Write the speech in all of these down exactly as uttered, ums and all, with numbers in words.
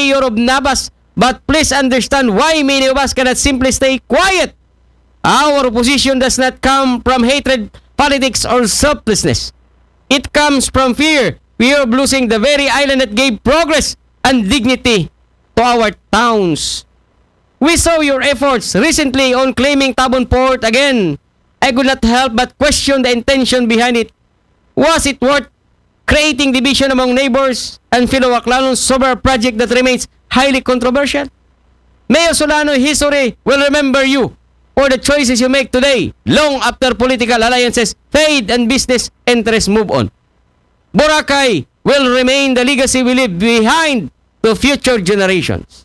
mayor of Nabas, but please understand why many of us cannot simply stay quiet. Our opposition does not come from hatred, politics, or selflessness. It comes from fear, fear of losing the very island that gave progress and dignity to our towns. We saw your efforts recently on claiming Tabon Port again. I could not help but question the intention behind it. Was it worth creating division among neighbors and fellow Baclanons over a project that remains highly controversial? Mayor Solano, history will remember you for the choices you make today, long after political alliances fade and business interests move on. Boracay will remain the legacy we leave behind to future generations.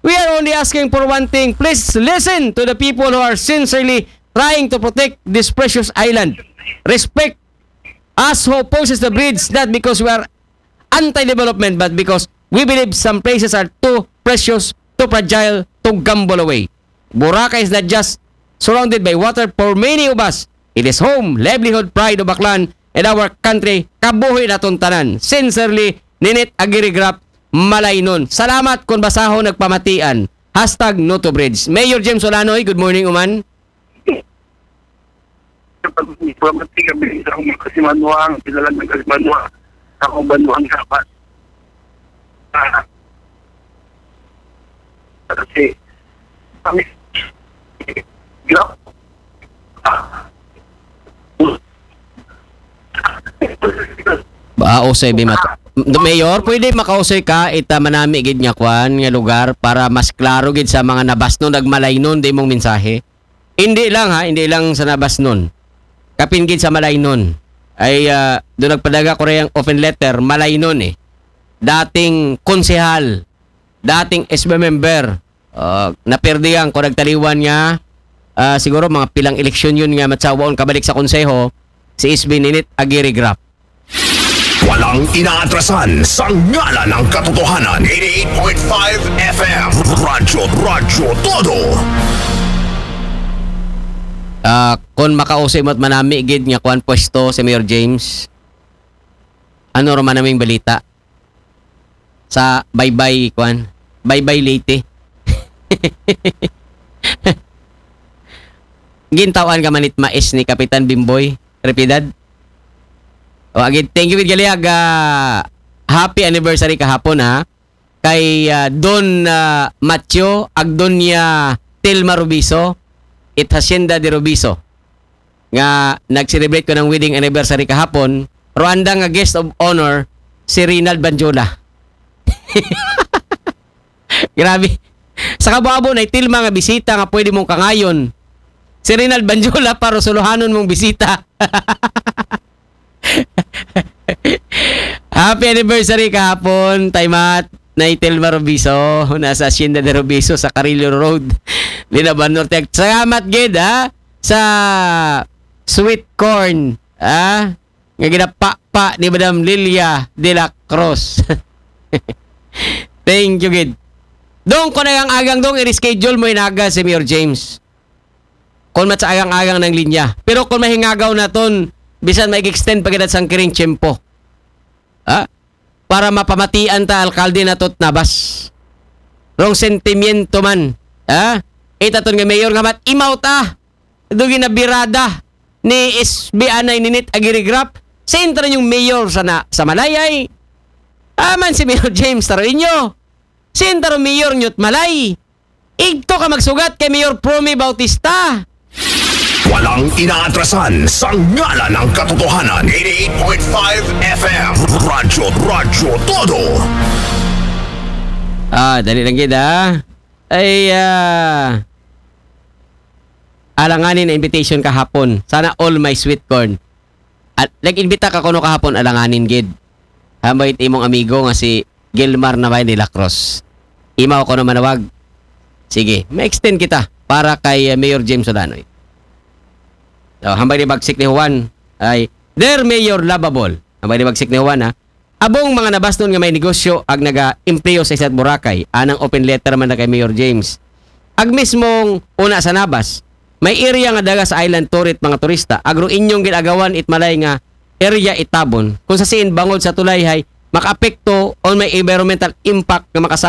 We are only asking for one thing. Please listen to the people who are sincerely trying to protect this precious island. Respect us who opposes the bridge, not because we are anti-development, but because we believe some places are too precious, too fragile to gamble away. Boracay is not just surrounded by water for many of us. It is home, livelihood, pride of Aklan, and our country. Kabuhi naton tanan. Sincerely, Ninit Agirigrap, Malaynon. Salamat kon basahon nagpamatian. Hashtag no to bridge. Mayor James Olanoy, good morning, uman. Pamati kami sa akong mga kasimanwa, ang pinalan ng kasimanwa, sa akong banwang dapat. Ah. Kasi, kami, grab. Ah. Ba, usay bi mat-, Mayor, pwede makausoy ka ita manami gid nga kwan nga lugar para mas klaro gid sa mga nabasnon ug malaynon di mong mensahe. Hindi lang ha, hindi lang sa nabasnon. Kapin gid sa malaynon. Ay, ah, doon nagpadala ko rin ang open letter, malaynon eh. Dating konsehal, dating S B member, ah, naperdihan ko nagtaliwan nga, ah, siguro mga pilang eleksyon yun nga matsawaon kabalik sa konseho, si S B Ninit Aguirre Graff. Walang inaatrasan sa ngalan ng katotohanan. eighty-eight point five F M. Radyo, Radyo Todo. Ah, kung makausoy mo't manami gid nga kwan pwesto si Mayor James, ano ra man naming balita sa Baybay kwan? Baybay Leyte. Gintawan ka manit mais ni Kapitan Bimboy Repidad. O, agad, thank you gid gali ag, ah, happy anniversary kahapon ha. Kay, ah, Don, ah, Matthew, ag Doña Telma Rubiso, it Hacienda de Rubiso. Nga nag-celebrate ko ng wedding anniversary kahapon, Rwanda nga guest of honor, si Rinald Banjola. Grabe. Sa kabo-abo na Telma nga bisita nga pwede mong kangayon. Si Rinald Banjola para suluhanon mong bisita. Happy anniversary kahapon, Taymat, Nay Telma Rubiso, nasa Hacienda de Rubiso sa Carrillo Road, Linaban Norte. Salamat gid ha sa sweet corn, ha, nga ginapapa ni Madam Lilia de la Cruz. Thank you gid. Dong, kung ang agang dong, i-reschedule mo inaga si Mayor James. Kung matsa agang-agang ng linya. Pero kung mahingagaw naton, bisan mag-extend pa kita sang kiring tiyempo. Ha? Para mapamatian ta alkalde nato't Nabas. Rong sentimiento man. Ha? Itaton nga mayor nga mat-imaw ta. Dugi na birada ni S B anay Ninit Agirigrap. Sintra yung mayor sa, na, sa Malayay. Aman si Mayor James Taruinyo. Sintra yung mayor nyo't Malay. Igto ka magsugat kay Mayor Promy Bautista. Walang inaatrasan sa ngalan ng katotohanan. eighty-eight point five F M. Radyo, Radyo Todo. Ah, dali lang gid ah. Ay, ah, alanganin na invitation kahapon. Sana all my sweet corn. At nag-invita ka kuno kahapon, alanganin gid. Hambay imong amigo nga si Gilmar na de la Cruz. Imaw ko na manawag. Sige, ma-extend kita para kay uh, Mayor James Solanoy. So, hambay ni Bagsik ni Juan ay, Dear Mayor Lababol. Hambay ni Bagsik ni Juan ha. Abong mga nabasnon nga may negosyo ag naga-empleyo sa Isla Boracay. Anang open letter man na kay Mayor James. Ag mismong una sa Nabas, may area nga daga sa island tourist mga turista. Agro inyong ginagawan it malay nga area itabon. Kung sa siin bangod sa tulay hay makaapekto on may environmental impact nga makasama